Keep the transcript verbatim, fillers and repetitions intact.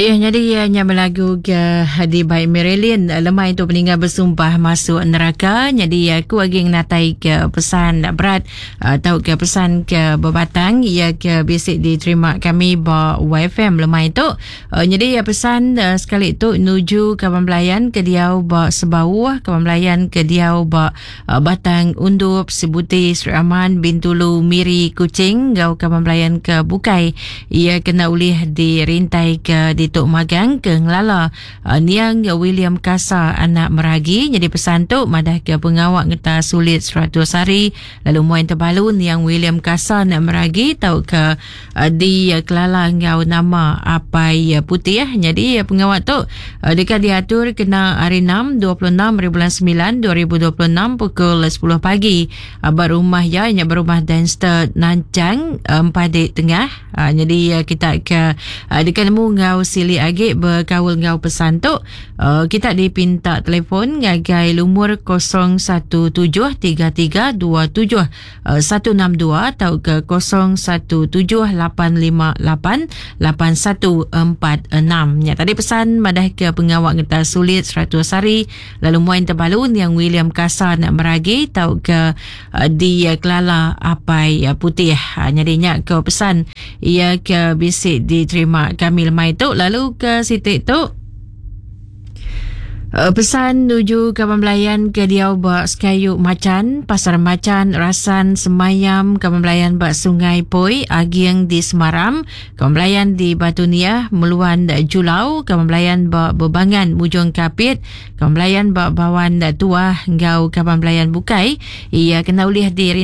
Ya, jadi ya, nya belagu ke di baik Marilyn lemai tu peninggal bersumpah masuk neraka. Jadi aku lagi natai ke pesan berat atau ke pesan ke berbatang ia ke bisik diterima kami ba Y F M lemai tu. Jadi ya pesan sekali tu nuju kawan belayan ke diau ba Sebauh, kawan belayan ke diau ba Batang Undup, Sibuti, Sri Aman, Bintulu, Miri, Kuching, gau kawan belayan ke Bukai. Ia kena ulih dirintai ke Dituk Magang ke Ngelala uh, Niang William Kasa anak Meragi. Jadi pesan tu madah ke pengawak ngeta sulit seratus hari lalu muan terbalu Niang William Kasa anak Meragi tau ke uh, di uh, Kelala ngau nama Apai uh, Putih. Jadi uh, pengawak tu uh, dekat diatur kena hari enam dua puluh enam bulan sembilan dua ribu dua puluh enam pukul sepuluh pagi uh, berumah ya nya berumah Danster Nancang uh, Empadik Tengah. Uh, jadi uh, kita ke uh, dekat nemu ngau sili agi berkaul ngau pesan tu uh, kita dipinta telefon ngagai lumur kosong satu tujuh tiga tiga dua tujuh satu enam dua atau ke kosong satu tujuh lapan lima lapan lapan satu empat enam. Ya, tadi pesan madah ke pengawak ngeta sulit seratus hari lalu muan terbalu yang William Kasa nak meragi tau ke uh, di uh, Kelala Apai uh, Putih. Uh, jadinya ke pesan ia ke bisik diterima kami lemai tu. Lalu ke sitik tu pesan nuju kawan belayan ke diau bak Sekayu Macan, Pasar Macan, Rasan, Semayam, kawan belayan bak Sungai Poi, Agiang di Semaram, kawan belayan di Batu Niah, Meluan Julau, kawan belayan bak Bebangan, Mujung Kapit, kawan belayan bak Bawan Tuah, ngau kawan belayan Bukai, ia kena ulih di